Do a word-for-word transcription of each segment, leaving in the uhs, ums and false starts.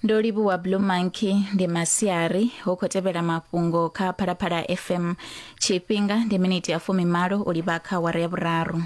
Ndo livhuwa Blue Monkey. Ndi masiari hu khou tevhela mafhungo kha Phalaphala F M. Tshifhinga ndi miniti ya fumimalo u livha kha awara ya vhuraru.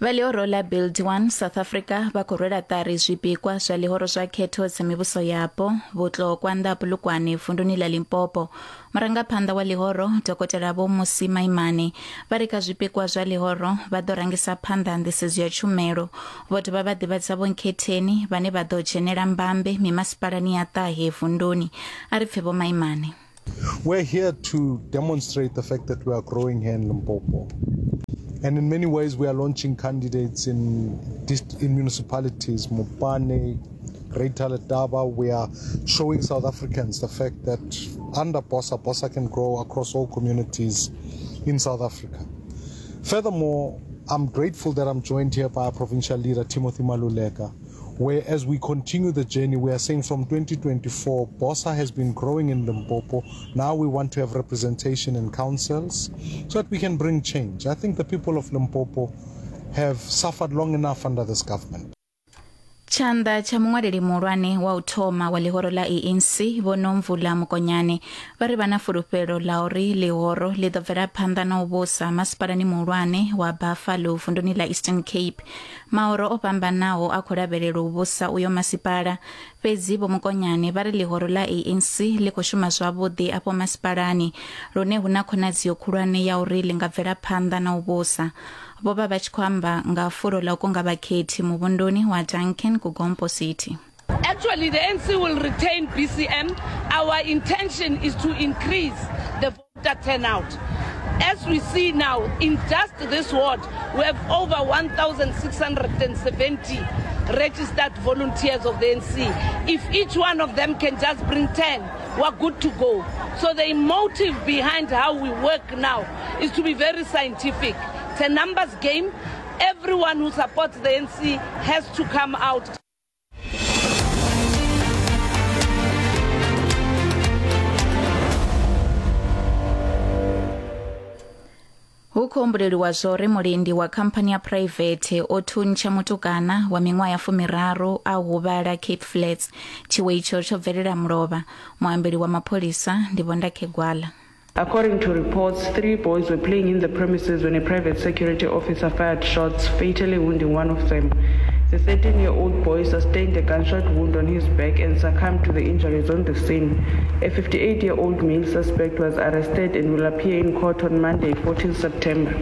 Vha ḽihoro ḽa Build One South Africa vha khou rwela ṱari zwipikwa zwa ḽihoro zwa khetho dza mivhuso yapo Vhutlokwa nnḓa Polokwane vunduni ḽa Limpopo. Murangaphanḓa wa ḽihoro Dokotela Vho Mmusi Maimane vha ri kha zwipikwa zwa ḽihoro vha ḓo rangisa phanḓa nḓisedzo ya tshumelo. Vho dovha vha ḓivhadza Vho Nkhetheni vhane vha ḓo dzhenela mbambe mimasipalani ya ṱahe vunduni. A ri pfe Vho Maimane. We're here to demonstrate the fact that we are growing here in Limpopo. And in many ways, we are launching candidates in in municipalities, Mopani, Greater Letaba. We are showing South Africans the fact that under BOSA, BOSA can grow across all communities in South Africa. Furthermore, I'm grateful that I'm joined here by our provincial leader, Timothy Maluleka, where as we continue the journey, we are saying from twenty twenty-four, BOSA has been growing in Limpopo. Now we want to have representation in councils so that we can bring change. I think the people of Limpopo have suffered long enough under this government. Tshanḓa tsha muṅwaleli muhulwane wa u thoma wa ḽihoro ḽa A N C Vho Nomvula Mokonyane vha ri vha na fulufhelo ḽa uri ḽihoro ḽi ḓo bvela phanḓa na u vhusa masipalani muhulwane wa Buffalo vunduni ḽa Eastern Cape. Mahoro o fhambanaho a khou lavhelelwa u vhusa uyo masipala, fhedzi Vho Mokonyane vha ri ḽihoro ḽa A N C ḽi khou shuma zwavhuḓi afho masipalani lune hu na khonadzeo khulwane ya uri ḽi nga bvela phanḓa na u vhusa. Vho vha vha tshi khou amba nga fulo ḽa u kunga vhakhethi muvhunduni wa Duncan KuGompo City. Actually, the A N C will retain B C M. Our intention is to increase the voter turnout. As we see now, in just this ward, we have over one thousand six hundred seventy registered volunteers of the A N C. If each one of them can just bring ten, we're good to go. So the motive behind how we work now is to be very scientific. It's a numbers game. Everyone who supports the A N C has to come out. Hu khou humbuleliwa zwo uri mulindi wa khamphani ya private o thuntsha mutukana wa miṅwaha ya fumiraru a huvhala Cape Flats. Tshiwo itsho tsho bvelela mulovha. Muambeli wa mapholisa ndi Vho Ndakhe Gwala. According to reports, three boys were playing in the premises when a private security officer fired shots, fatally wounding one of them. The thirteen-year-old boy sustained a gunshot wound on his back and succumbed to the injuries on the scene. A fifty-eight-year-old male suspect was arrested and will appear in court on Monday, fourteenth September.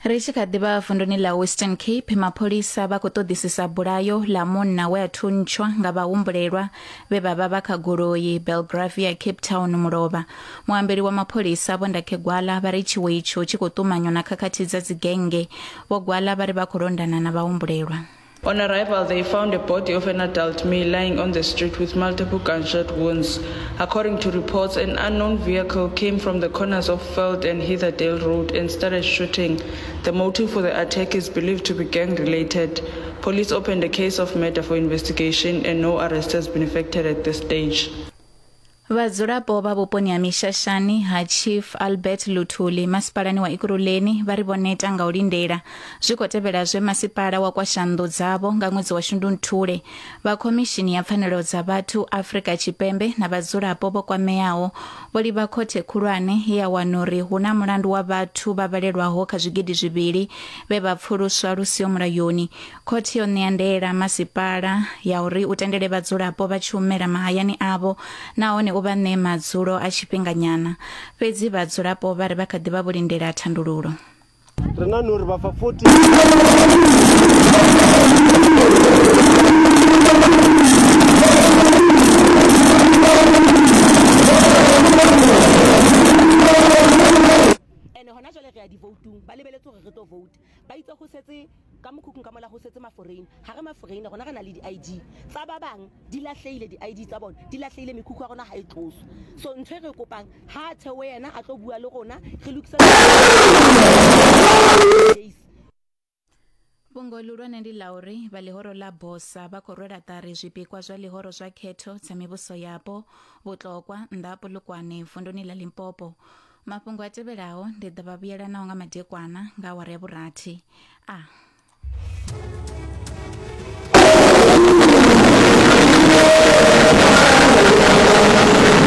Ri tshi kha ḓi vha vunduni ḽa Western Cape, mapholisa vha khou ṱoḓisisa bulayo ḽa munna we a thuntshwa nga vhahumbulelwa vhe vha vha vha kha goloi Belgravia Cape Town mulovha. Muambeli wa mapholisa Vho Ndakhe Gwala vha ri tshiwo itsho tshi khou ṱumanywa na khakhathi dza dzigennge. Vho Gwala vha ri vha khou londana na vhahumbulelwa. On arrival, they found a body of an adult male lying on the street with multiple gunshot wounds. According to reports, an unknown vehicle came from the corners of Feld and Heatherdale Road and started shooting. The motive for the attack is believed to be gang-related. Police opened a case of murder for investigation and no arrest has been effected at this stage. Vhadzulapo vha vhuponi ha Mishashani ha Chief Albert Luthuli masipalani wa Ekurhuleni vha ri vho neta nga u lindela zwi khou tevhela zwe masipala wa kwasha nnḓu dzavho nga ṅwedzi wa Shundunthule. Vha khomishini ya pfanelo dza vhathu Afrika Tshipembe na vhadzulapo vho kwameaho vho livha khothe khulwane ya wana uri hu na mulandu wa vhathu vha vhalelwaho kha zwigidi zwivhili vhe vha pfuluswa lu siho mulayoni. Khothe yo ṋea ndaela masipala ya uri u tendele vhadzulapo vha tshi humela mahayani avho nahone u vha ṋee madzulo a tshifhinganyana, fhedzi vhadzulapo vha ri vha kha ḓi vha vho lindela thandululo. Ri na uri vha fa forty ene hona jwale re ya di-voting ba lebeletse hore re tlo vote ba itse ho setse ka mokhukhung ka mola ho setse ma-foreign ha re ma-foreign rona re na le di-I D tsa ba bang di lahlehile di-I D tsa bona di lahlehile mekhukhu ya rona ha e tloswe. So ntho e re kopang ha thewe yena a tlo bua le rona re lokise. Fhungo ḽihulwane ndi ḽa uri vha ḽihoro ḽa BOSA vha khou rwela ṱari zwipikwa zwa ḽihoro zwa khetho dza mivhuso yapo Vhutlokwa nnḓa ha Polokwane vunduni ḽa Limpopo. Mafhungo a tevhelaho ndi ḓo vha vhuyela nao nga madekwana nga awara ya vhurathi. A